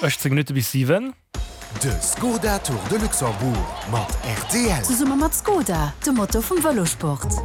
18 Minutte bis 7. De Skoda Tour de Luxembourg mat rtl. Zesumme mat Skoda, dem Motor vum Vëlosport.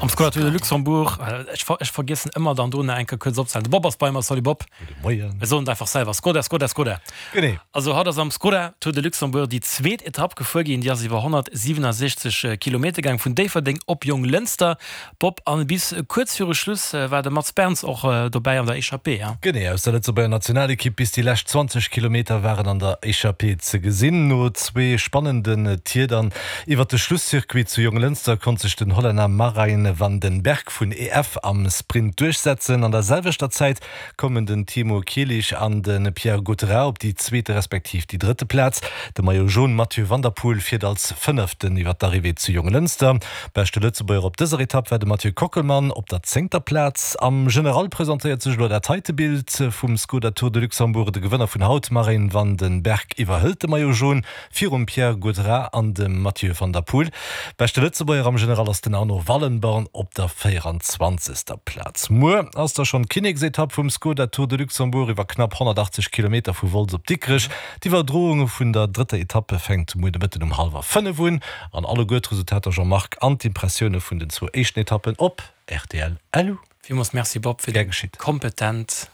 Am Skoda Tour de Luxembourg, ech ech vergiessen ëmmer dann do nach eng Kéier kuerz opzehalen. De Bob ass bei mer, salut Bob. Gudde Moien. Mir soen et einfach selwer, Skoda, Skoda, Skoda. Genee. Also haut ass am Skoda Tour de Luxembourg déi zweet Etapp gefuer ginn. Déi ass iwwer 167 Kilometer gaang, vun Déifferdeng op Jonglënster. Bob, an bis kuerz viru Schluss war de Mats Berns och dobäi an der Echappée, hein? Genee, aus der Lëtzebuerger Nationalekipp. Bis déi lescht 20 Kilometer waren an der Echappée ze gesinn. No zwee spannenden Tier dann iwwer de Schlusscircuit zu Jonglënster konnt sech den Hollänner Marijn van den Berg vun EF am Sprint duerchsetzen. An der selwechter Zäit kommen den Timo Kielich an de Pierre Gautherat op déi zweete respektiv déi drëtte Plaz. De Maillot Jaune Mathieu van der Poel fiert als Fënneften iwwer d'Arrivée zu Jonglënster. Beschte Lëtzebuerger op dëser Etapp war de Mathieu Kockelmann op der zéngter Plaz. Am General presentéiert sech elo dat heite Bild vum Skoda Tour de Luxembourg. De Gewënner vun haut, Marijn van den Berg, iwwerhëlt de Maillot Jaune virum Pierre Gautrat an dem Mathieu van der Poel. Beschte Lëtzebuerger am General ass den Arno Wallenborn op der 24. Plaz. Muer ass da schonn d'Kinneksetapp vum Skoda Tour de Luxembourg iwwer knapp 180 Kilometer vu Wolz op Dikrech. D'Iwwerdroung vun der drëtter Etappe fänkt muer de Mëtten um hallwer 5 un. An alleguer d'Resultater Jean-Marc an d'Impressioune vun den zwou éischten Etappen op rtl LU. Villmools Merci Bob fir déi kompetent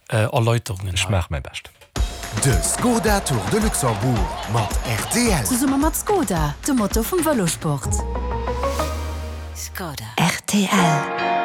Erläuterungen Ech maache mäi Bescht. De Skoda Tour de Luxembourg mat rtl. Zesumme mat Skoda, dem Motor vum Vëlosport. Skoda. Rtl.